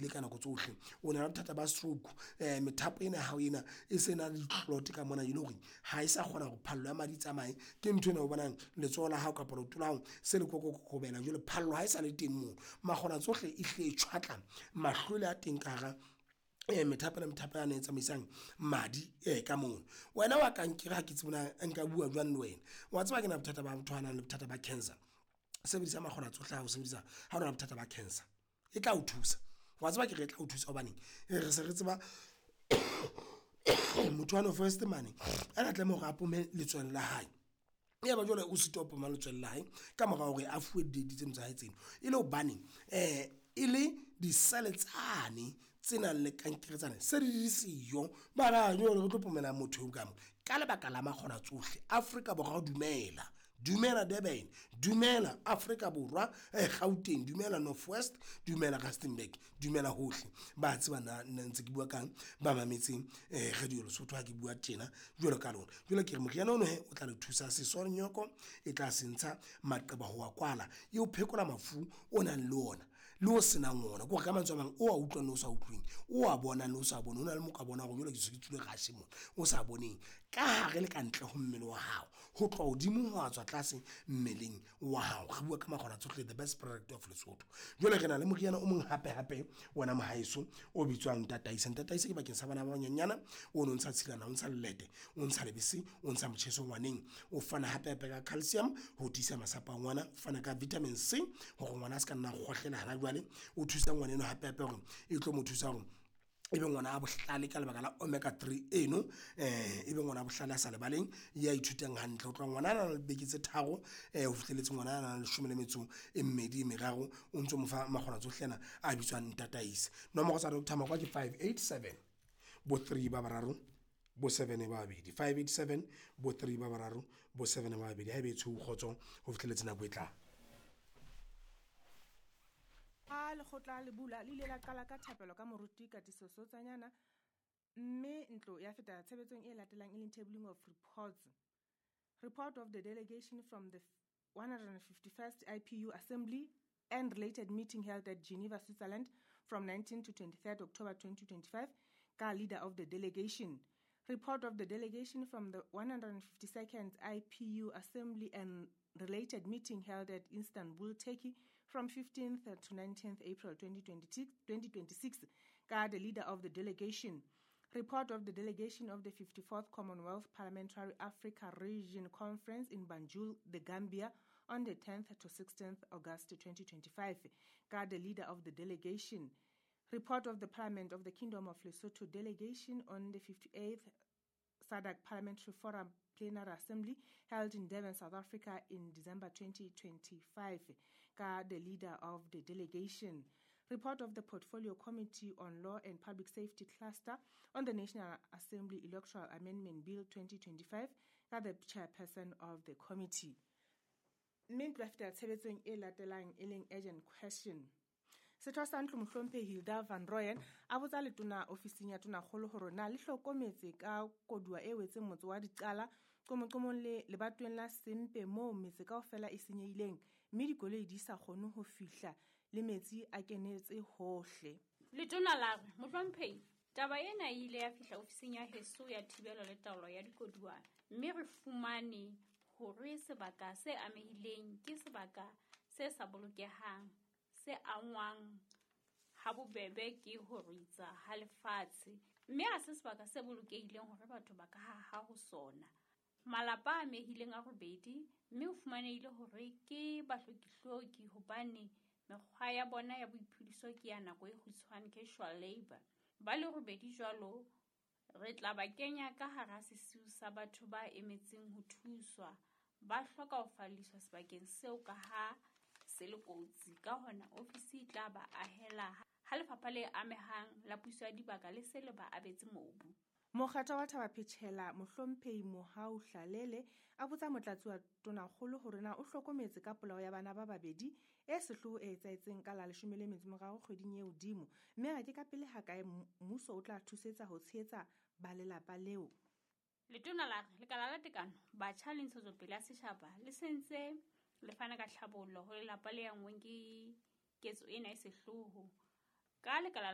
tsohile ka nako tsohle. O na le bothata ba stroke, methapo ena ya hao ena e se na le di-clot ka mona e le hore ha e sa kgona hore phallo ya madi e tsamaye. Ke ntho ena o bonang letsoho la hao kapa leoto la hao se le kokobela jwale phallo ha e sa le teng moo. Makgona tsohle e hlile e tjhwatla mahlwele a teng ka hara methapo le methapo yane e tsamaisang madi ka mono. Wena wa kankere ha ke tsebe na nka bua jwang le wena. Wa tseba ha ke na bothata ba motho a nang le bothata ba cancer. Sebedisa makgona tsohle ha o sebedisa ha o na le bothata ba cancer, e tla o thusa. Wa tseba ke re e tla o thusa hobaneng? Re se re tseba motho wa North West mane a na tlameha hore a pome letswele la hae. Ya ba jwale o sitwa ho poma letswele la hae ka mora hore a fuwe di-date tseno tsa hae tseno. E le hobaneng? E le di-cell tsane tse nang le kankere tsane se di le siyo. Ba re jwale re tlo pomela motho eo ka mo. Ka lebaka la makgona tsohle, Afrika Borwa dumela. Dumela Durban, dumela Afrika Borwa, Gauteng, dumela North West, dumela Rustenburg, dumela hohle. Ba tseba na nna ntse ke bua kang, ba mametseng Radio Lesotho ha ke bua tjena jwalo ka lona. Jwale ke re moriana ono he o tla le thusa sesonyoko, e tla se ntsha maqeba ho wa kwala, e o phekola mafu o nang le ona le o senang ona. Ke hore ka mantswe a mang, o a utlwang le o sa utlweng, o a bonang le o sa boneng. Ho na le mo ka bona hore jwale ke se ke tswile rush mona, o sa boneng. Ka hare le ka ntle ho mmele wa hao, ho tloha hodimo ho tswa tlase mmeleng wa hao. Re bua ka makgona tsohle, the best product of Lesotho. Jwale re na le moriana o mong hape hape wena mohaeso o bitswang Ntataise. Ntataise ke bakeng sa bana ba banyenyana, o no ntsha tshilana, o ntsha lelete, o ntsha lebese, o ntsha motjheso ngwaneng. O fana hape hape ka calcium ho tiisa masapo a ngwana, o fana ka vitamin C hore ngwana a se ka nna kgohlela hana jwale. O thusa ngwana eno hape hape hore e tlo mo thusa hore e be ngwana a bohlale ka lebaka la omega 3 eno, e be ngwana a bohlale a sa lebaleng, ya ithutang hantle. Ho tloha ngwana a nang le beke tse 3 ho fihlelletse ngwana a nang le 12 meraro, o ntso mo fa makgona tsohle ana a bitswang Ntataise. Nomoro tsa Doctor Makwa ke 587 bo 3 ba bararo bo 7 ba babedi, 587 bo 3 ba bararo bo 7 ba babedi. Ha ebe e tshweu kgotso ho fihlelletse nako e tlang. Ha lekgotla le bula le ile la qala ka thapelo ka moruti Katiso Sotsanyana, mme ntlo ya feta tshebetsong e latelang e leng tabling of reports. Report of the delegation from the 151st IPU Assembly and related meeting held at Geneva, Switzerland from 19 to 23rd October 2025, ka leader of the delegation. Report of the delegation from the 152nd IPU Assembly and related meeting held at Istanbul, Turkey from 15th to 19th April 2026, ka the leader of the delegation. Report of the delegation of the 54th Commonwealth Parliamentary Africa Region Conference in Banjul, the Gambia, on the 10th to 16th August 2025, ka the leader of the delegation. Report of the Parliament of the Kingdom of Lesotho delegation on the 58th SADC Parliamentary Forum Plenary Assembly held in Durban, South Africa in December 2025, ka the leader of the delegation. Report of the Portfolio Committee on Law and Public Safety Cluster on the National Assembly Electoral Amendment Bill 2025, ka the chairperson of the committee. Mme ntlo ya fetela tshebetsong e latelang e leng urgent question. Setho sa ntlo mohlomphehi Hilda van Rooyen a botsa letona ofising ya tonakgolo hore na le hlokometse ka koduwa e wetseng motse wa Diqala qomoqomong le lebatoweng la Sempe moo metse kaofela e senyehileng mme dikoloi di sa kgone ho fihla le metsi a kenetse hohle. Letona la re, mohlomphehi, taba ena e ile ya fihla ofising ya heso ya thibelo le taolo ya dikoduwa mme re fumane hore sebaka se amehileng ke sebaka se sa bolokehang, se angwang ha bobebe ke ho ritsa ha lefatshe, mme ha se sebaka se bolokehileng hore batho ba ka haha ho sona. Malapa a amehileng a robedi, mme ho fumanehile hore ke bahlokihloki hobane mekgwa ya bona ya boiphediso ke ya nako e kgutshwane, casual labor. Ba le robedi jwalo re tla ba kenya ka hara sesiu sa batho ba emetseng ho thuswa. Ba hloka ho falliswa sebakeng seo ka ha se le kotsi. Ka hona ofisi e tla ba ahela ha lefapha le amehang la puso ya dibaka le se le ba abetse mobu. Mokgatlo wa Thaba Phechela mohlomphehi Mohau Hlalele a botsa motlatsi wa tonakgolo hore na o hlokometse ka polao ya bana ba babedi e sehloho e etsahetseng ka la 13 kgweding e hodimo, mme a re ke ka pele hakae mmuso o tla thusetsa ho tshehetsa ba lelapa leo. Letona la re lekala la tekano, batjha le ntshetsopele ya setjhaba le sentse le fana ka tlhabollo ho lelapa le angweng ke ketso ena e sehloho. Ka lekala